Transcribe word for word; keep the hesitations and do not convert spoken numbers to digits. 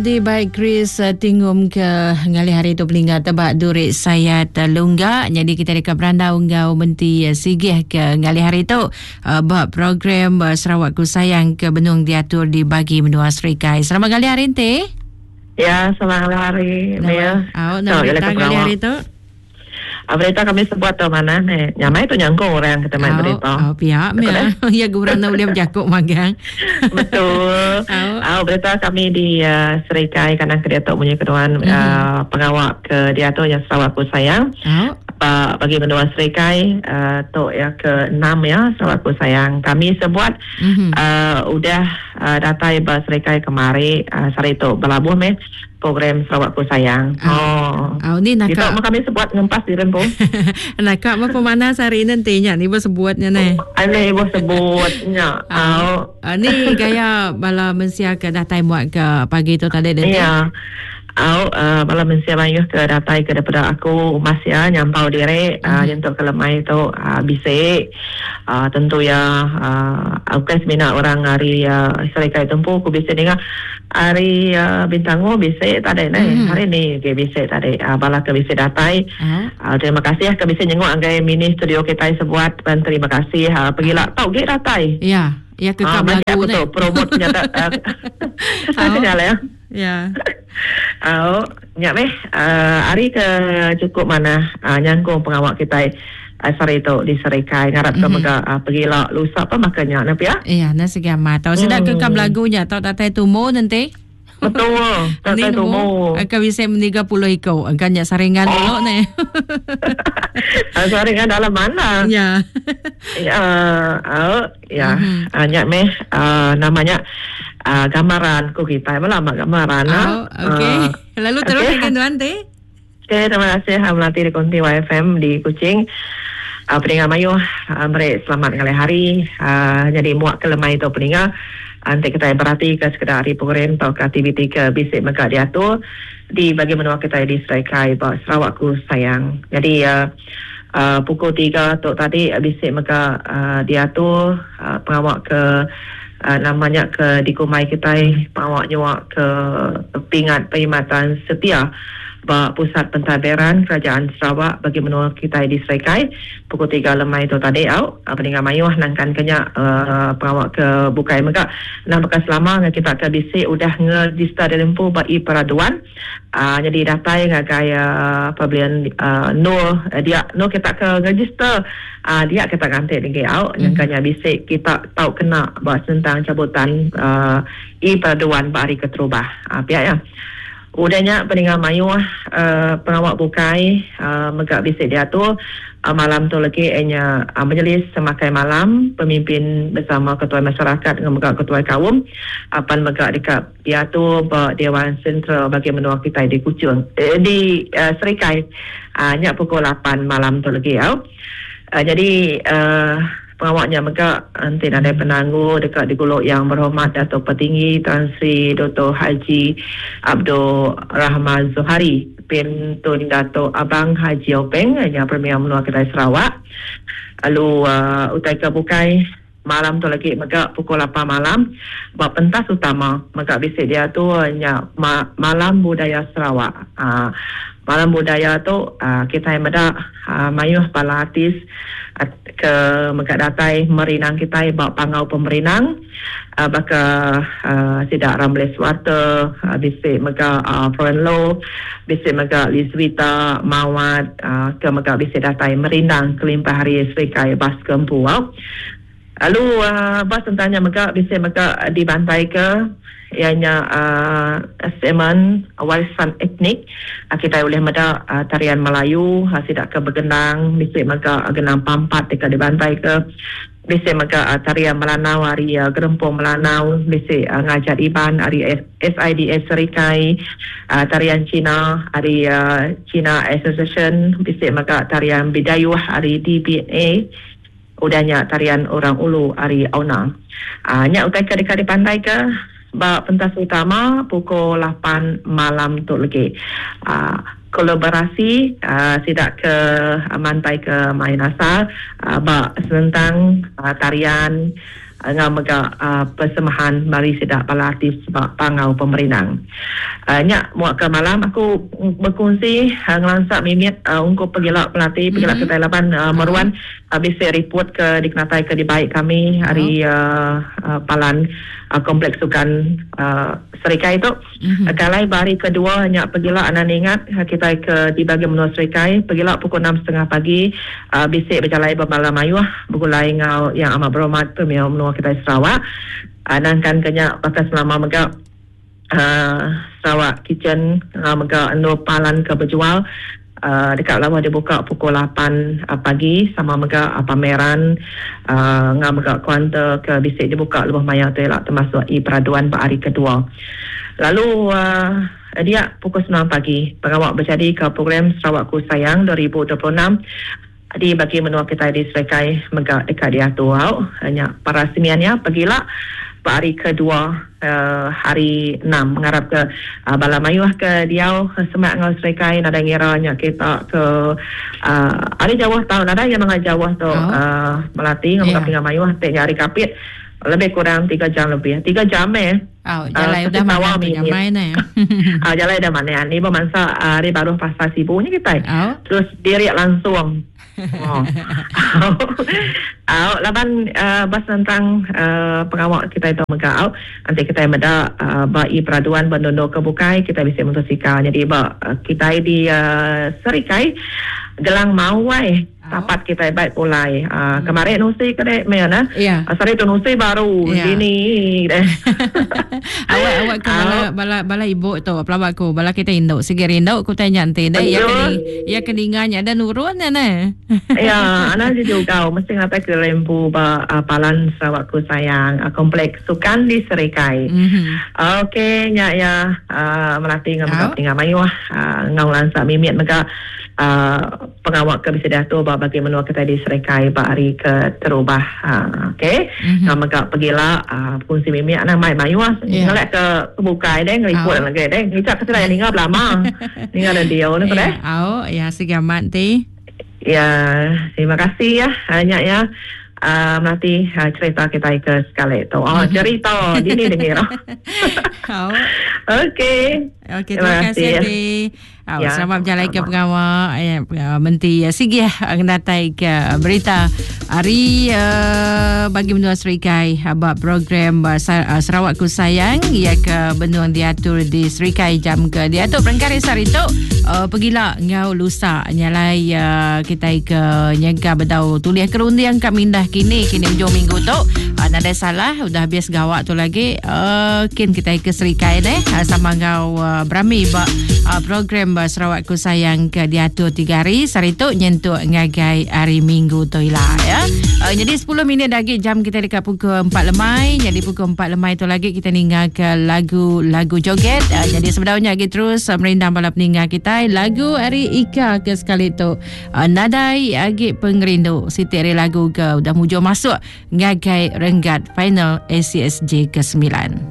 Di baik Chris Tingum ke ngalih hari tu peningat tebak durik sayat lungga. Jadi kita dekat berandau ngau menti sigih ke ngalih hari tu uh, bak program uh, Sarawakku Sayang ke benung diatur di bagi menua Serikai. Selamat ngalih hari ente. Ya, selamat ngalih hari. Ya. Oh, nak berita ngalih hari tu. Berita kami sebut tu mana ni? Nyamai tu nyangkung orang kita main berita. Oh, pihak ya. Ya gurang nak boleh berjakuk magang. Betul. Oh, berita kami di uh, Serikai kadang ke dia tu punya keduan mm-hmm. uh, pengawak ke dia tu yang Sarawakku Sayang. Oh. Uh, bagi menua Serikai uh, tu ya ke enam ya Sarawakku Sayang. Kami sebut mm-hmm. uh, udah uh, datai ba Serikai kemari uh, sari tu belabuh meh program Sarawakku Sayang. Oh. Oh, ni nak kita kami sebut ngempas di rempu. Nak apa pemanas hari nanti nya ni sebutnya ni. Ane ibu sebutnya. Oh. Uh, ni gaya bala mensia ke datai muat ke pagi tu tadi nanti. Ya. Au uh, bala mensia mayuh ke datai ke daripada aku umas ya nyampau dire uh, mm. untuk kelemai tu uh, bisik uh, tentu ya uh, aku kan semina orang hari uh, Serikai tempuh aku bisik dengar hari uh, Bintango bisik tadi ni mm. hari ni ke bisik tadi uh, bala ke bisik datai mm. uh, terima kasih ke bisik nyengok anggai mini studio kita sebuat dan terima kasih uh, pergilah tau ge datai ya ya ke uh, lagu ni promote nyata uh, ya ya. Oh, nyak meh uh, hari ke cukup mana uh, nyangkung pengawak kita uh, sari tu di Serikai ngarap ke mm-hmm. mega uh, pergilah lusa apa makanya nak ya. Iya, nasi gamat. Tau sedak ke kam lagunya tau datai tumo nanti. Betul. Datai tumo. Akan bisa meniga puluh iko. Akan nyak saringan oh. dulu ni. Saringan dalam mana? Ya. Ya, oh, ya. Mm-hmm. Uh, nyak meh uh, namanya Uh, gambaran ku kita melama gambaran oh, okey. Uh, lalu terus okay. Dengan tuan teh. Okey, terima kasih Hamlati di Konti Y F M di Kuching. Uh, peningat mayuh uh, beri selamat ngalih hari. Uh, jadi muak ke lemai tu peningat. Nanti kita berarti ke sekedar hari program atau ke aktiviti ke bisik mega diatur di bagi menua kita di Serikai Sarawakku Sayang. Jadi uh, uh, pukul tiga tu tadi bisik mega uh, diatur uh, pengawak ke Uh, namanya ke di kumai kita pawak nyuak ke pingat perkhidmatan setia ba pusat pentadbiran kerajaan Sarawak bagi menua kita di Serikai pukul tiga lemai tu tadi au peninggal mayuh nangkan kenya uh, pawak ke bukai mega nang bekas lama dengan kita ke bisik udah ngeregister dalam ba i peraduan uh, jadi datai ngagai uh, pembelian uh, no uh, dia no kita ke register uh, dia kita ganti lagi au mm-hmm. nangkanya bisik kita tahu kena ba tentang cabutan uh, i peraduan ba hari keterubah uh, pihak ya. Udahnya peninggal mayuh uh, pengawak bukai uh, megak bisik diatur uh, malam tu lagi ianya uh, majlis semakai malam pemimpin bersama ketua masyarakat dengan megak ketua kaum apan megak dekat diatur ba Dewan Sentral bagi menua kita di Kuching eh, di uh, Serikai uh, nyak pukul lapan malam tu lagi au. Uh, jadi uh, pengawaknya megak nanti ada penangguh dekat di Gulok Yang Berhormat Dato' Petinggi Tan Sri Doktor Haji Abdul Rahman Zohari bin Tun Dato' Abang Haji Openg yang Premier Menua Kedai Sarawak. Lalu uh, utai ke bukai malam tu lagi megak pukul lapan malam buat pentas utama megak bisik dia tu nya ma- malam budaya Sarawak. Uh, malam budaya tu uh, kita yang medak uh, mayuh bala artis uh, ke megak datai merinang kita bawa pangau pemerinang uh, baka uh, sidak Ramles Water uh, bisik megak uh, Foreign Law bisik megak Lizwita Mawat uh, ke megak bisik datai merinang kelimpah hari Serikai Bas Kempu. Uh. Lalu uh, bas tentangnya megak bisik megak dibantai ke ianya uh, semen warisan etnik uh, kita boleh meda uh, tarian Melayu uh, sidak ke bergenang bisik mega uh, genang pampat dekat dibantai ke bisik mega uh, tarian Melanau hari uh, gerempung Melanau bisik uh, ngajar Iban hari S I D S Serikai uh, tarian Cina hari uh, Cina Association bisik mega tarian Bidayuh hari D B A udahnya tarian orang Ulu hari Auna. Uh, nyak utai ke dekat dipandai ke ba pentas utama pukul lapan malam tu lagi. Uh, kolaborasi uh, sidak ke uh, mantai ke main asal uh, ba tentang uh, tarian Ngau mega uh, persemahan mari sidak bala artis sebab pangau pemerinang. Uh, nyak muak ke malam aku berkongsi uh, ngelansak mimit uh, ungkup pegila pelatih pegila mm-hmm. kita laban uh, meruan uh, bisa report ke dikenatai ke dibaik kami hari uh, uh, Palan uh, Kompleks Sukan uh, Serikai itu. Mm-hmm. Uh, kalai hari kedua nyak pegila anak ingat kita ke di bagi menua Serikai pegila pukul enam tiga puluh pagi uh, bisik berjalai bermalam mayuh bergulai ngau yang amat berhormat Premier menua kita Sarawak. Uh, nangkan kenya bakal selama mega uh, Sarawak Kitchen uh, mega endo palan ke berjual uh, dekat lama dibuka pukul lapan uh, pagi sama mega uh, pameran uh, ngau mega kuanta ke bisik dibuka lebih maya tu lah termasuk i peraduan hari kedua. Lalu uh, dia pukul sembilan pagi pengawak berjadi ke program Sarawakku Sayang dua ribu dua puluh enam di bagi menua kita di Serikai mega dekat diatur au hanya para semiannya pergilah hari kedua uh, hari enam mengharap ke uh, bala mayuh ke diau semak ngau Serikai nada ngira nya kita ke uh, hari jauh tau nada yang mengai jauh tu oh. uh, melati ngau yeah. mayuh tek hari kapit lebih kurang tiga jam lebih. tiga jam eh. Oh, jalan uh, udah mana tu main eh. Ah, jalan dah mana ni bermasa hari baru pasar Sibu ni kita. Oh. Terus diri langsung. Oh. Au, laban uh, bas tentang uh, pengawak kita itu mega au. Nanti kita meda uh, ba i peraduan bandondo ke bukai kita bisa motosikal. Jadi ba uh, kita di uh, Serikai Gelang Mawai tapat kita baik pulai. Uh, hmm. Kemarin nusi ke dek mana? Yeah. Uh, sorry tu nusi baru yeah. Dini deh. Awak awak ke bala bala bala ibu tu pelawak ku bala kita induk sige rinduk ku tanya nanti deh ya keni ya keninganya ada nurun ne. Ya, anak juga mesti ngatai ke lempu ba uh, Palan Sarawakku Sayang uh, Kompleks Sukan di Serikai. Mm-hmm. Uh, Okey nya ya uh, melatih ngam tinggal mayuh uh, ngau lansak mimit mega uh, pengawak ke bisa diatur ba bagi menua kita di Serikai ba hari ke terubah. Uh, okey. Mm-hmm. Ngam mega pergilah uh, fungsi mimit anak mai mayuh yeah. Ngelak ke kebukai deh ngeliput oh. Lagi deh. Ngicak ke yang ninggal lama. Ninggal dan dia ni yeah. Oh, ya segamat ti. Ya, terima kasih ya banyak ya. Uh, nanti uh, cerita kita ke sekali tu. Oh, mm-hmm. Cerita dini dengar. Oh. Okey. Okey, terima kasih Ti. Oh, ya, selamat berjalan ke pengawal eh, Menteri Sigih ngenatai ke berita hari uh, bagi menua Serikai bab program uh, Sarawakku Sayang ia ke benung diatur di Serikai jam ke diatur perengkari sehari tu uh, pergilah ngau lusa nyalai uh, kita ke nyengka bedau tulis kerundiang kat mindah kini kini hujung minggu tu uh, nadai salah udah habis gawak tu lagi uh, kin kita ke Serikai deh uh, sama ngau uh, berami bab uh, program Sarawakku Sayang ke diatur tiga hari sehari tu nyentuk ngagai hari Minggu tu lah ya. Uh, jadi sepuluh minit lagi jam kita dekat pukul empat lemai. Jadi pukul empat lemai tu lagi kita ninggal ke lagu-lagu joget. Uh, jadi sebenarnya lagi terus uh, merindang bala peninggal kita lagu hari Ika ke sekali tu. Uh, nadai agi pengerindu siti hari lagu ke udah mujur masuk ngagai renggat final A C S J ke sembilan.